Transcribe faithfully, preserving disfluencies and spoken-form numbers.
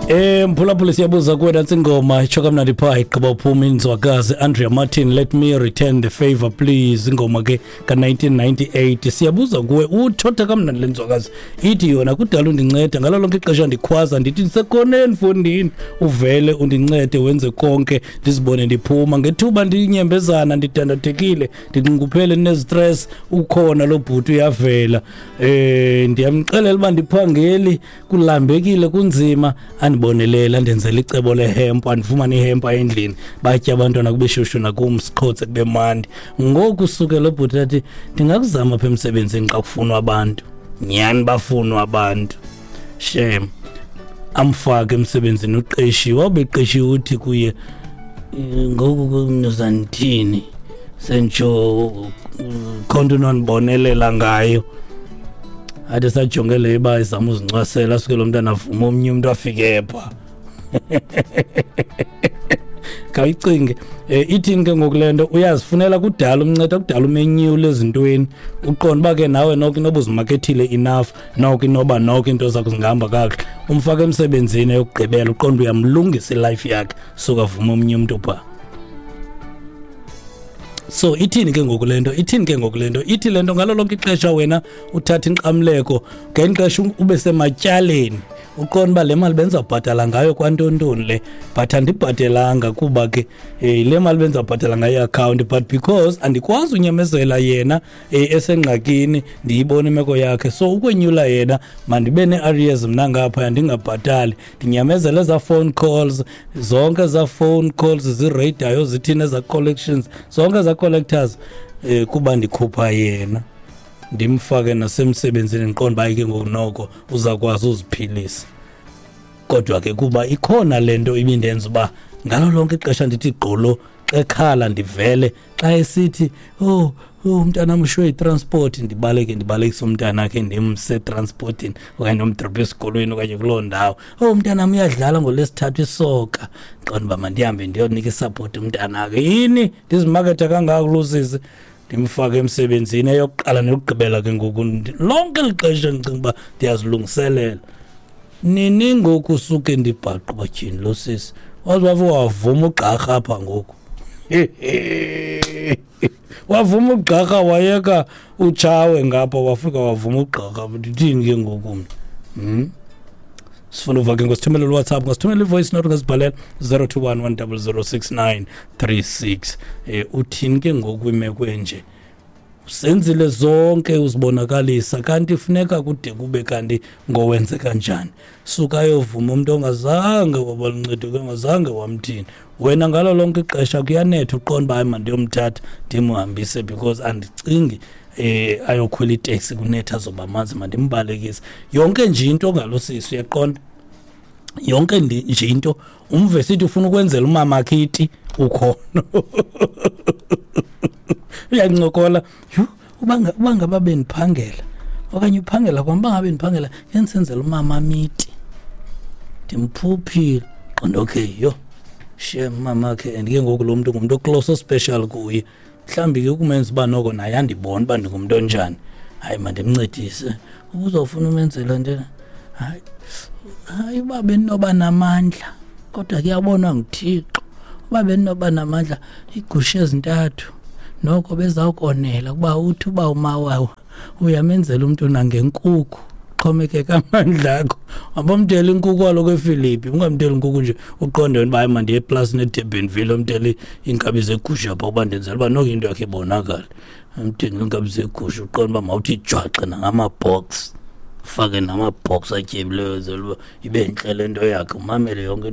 Eh mphulaphula, siyabuza kuwe. Nantsi ingoma itsho kamnandi phaa, igqiba uphuma inzwakazi Andrea Martin, "Let Me Return the Favor Please", ingoma ke ka-nineteen ninety-eight. Siyabuza kuwe, uthotha kamnandi le nzwakazi, ithi yona kudala undinceda ngalo lonke ixesha ndikhwaza ndithi ndisekoneni mfondini, uvele undincede wenze konke ndizibone ndiphuma ngethuba ndinyembezana, ndidandathekile, ndinxunguphele, ndinezistress, ukhona lo bhuti uyavela. eh ndiyamxelela uba ndiphangeli, kulambekile, kunzima, andibonelela, andenzela icebo lehemp, andifumane ihempa endlini, batye abantwana kube shushu nakum, siqhotse kube mandi. Ngoku suke lo bhuti athi ndingakuzama apha emsebenzini xa kufunwa abantu. Nyhani bafunwa abantu, shem. Amfake emsebenzini, uqeshiwe, wawubeqeshiwe. Uthi kuye, "Eh, ngoku nizandithini sentsho khonto unondibonelela ngayo?" Athi sajonge le uba izama uzincwasela, asuke lo mntana avuma omnye umntu afike pha. Khawuyicinge, um ithini ke ngoku le nto? Uyazifunela, kudala umnceda, kudala umenyule ezintweni, uqonda uba ke nawe noko inoba uzimakethile enough, noko inoba noko iinto zakho zingahamba kakuhle. Umfake emsebenzini eyokugqibela, uqonda uyamlungisa ilife yakhe, suka avuma omnye umntu phaa. So ithini ke ngoku le nto? Ithini ke ngoku le nto? Ithi le nto ngalo lonke ixesha wena uthatha inkxamleko, ngeli xesha ube sematyaleni, uqonda uba le mali bendizawubhatala ngayo kwantontoni le, but andibhatelanga kuba ke um le mali bendizawubhatala ngayo iakhawunti, but because andikwazi unyamezela yena um esengxakini, ndiyibona imeko yakhe, so ukwenyula yena mandibe nee-arrears mna ngaphaya, ndingabhatali, ndinyamezele ezaa phone calls zonke, ezaa phone calls zireydayo, zithini, ezaa collections zonke, ezaa collectors, um kuba ndikhupha yena, ndimfake nasemsebenzini, ndiqonda uba ke ngoku noko uzawukwazi uziphilisa. Kodwa ke kuba ikhona le nto ibindenza uba ngalo lonke ixesha ndithi gqolo xa ekhala ndivele, xa esithi, oh oh umntanam ushiywe yitransport, ndibaleke, ndibalekise umntanakhe, ndimse etransportini okanye ndomdrophe esikolweni okanye kuloo ndawo. Oh, umntanam uyadlala ngoLwesithathu isoka, ndiqonda uba mandihambe ndiyonika isupport umntanakhe. Yini ndizimaketha kangaka kulo sisi? Ndimfake emsebenzini eyokuqala neyokugqibela. Ke ngoku lonke eli xesha ndicinga uba ndiyazilungiselela. Nini ngoku suke ndibhaqe uba tyhini, lo sisi waze wafe wavuma ugqarha apha ngoku, wavuma ugqarha, wayeka utshawe ngapha, wafika wavuma ugqarha. Ndithini ke ngoku mna? hmm? Sifuna uva ke, ngosithumela uWhatsApp, ngasithumela i-voice note, ngasibhalela zero two one one zero zero six nine three six. um uthini ke ngoku kwimeko enje? Usenzile zonke, uzibonakalisa, kanti funeka kude kube kanti ngowenze kanjani? Suka ayovuma umuntu ongazange waba luncedo, ongazange wamthini. Wena ngalo lonke ixesha kuyanetha, uqonda uba hayi, mandiyomthatha ndimhambise because andicingi eh ayokhwela iteksi kunetha, azoba manzi, mandimbalekise. Yonke nje into ngalo sisi, uyaqonda, yonke nje into. Umve sithi ufuna ukwenzela umama akhe iti, ukhona uyancokola, yhu, uba uba ngaba bendiphangela okanye uphangela kwam, uba ngabe ndiphangela ngendisenzela umama miti, ndimphuphile. Qonda, okay, yho, shem, mama akhe. And ke ngoku lo mntu ngumntu oclose, special kuye, mhlawumbi ke ukumenza uba noko naye andibone uba ndingumntu onjani. Hayi, mandimncedise. Ubuzawufuna umenzela ntoni? Hayi, hayi, uba bendinoba namandla, kodwa kuyabonwa nguThixo, uba bendinoba namandla, iigusha ezintathu noko bezawukonela, kuba uthi uba umawawa uyamenzela umntu nangenkukhu, xhomekeka amandla akho. Abamthela inkukhu kaloku eFilipi, ungamtheli inkukhu nje uqonde wena uba hayi, mandiye eplasini eDurbanville, omthele iinkabi zegusha phaa, uba ndenzela uba noko into yakhe ibonakale. Amthengele iinkabi zegusha, uqonde uba mawuthi jwaxe nangama-box, ufake nama-box atyebileyo, zela uba ibe ntle le nto yakhe, umamele yonke into.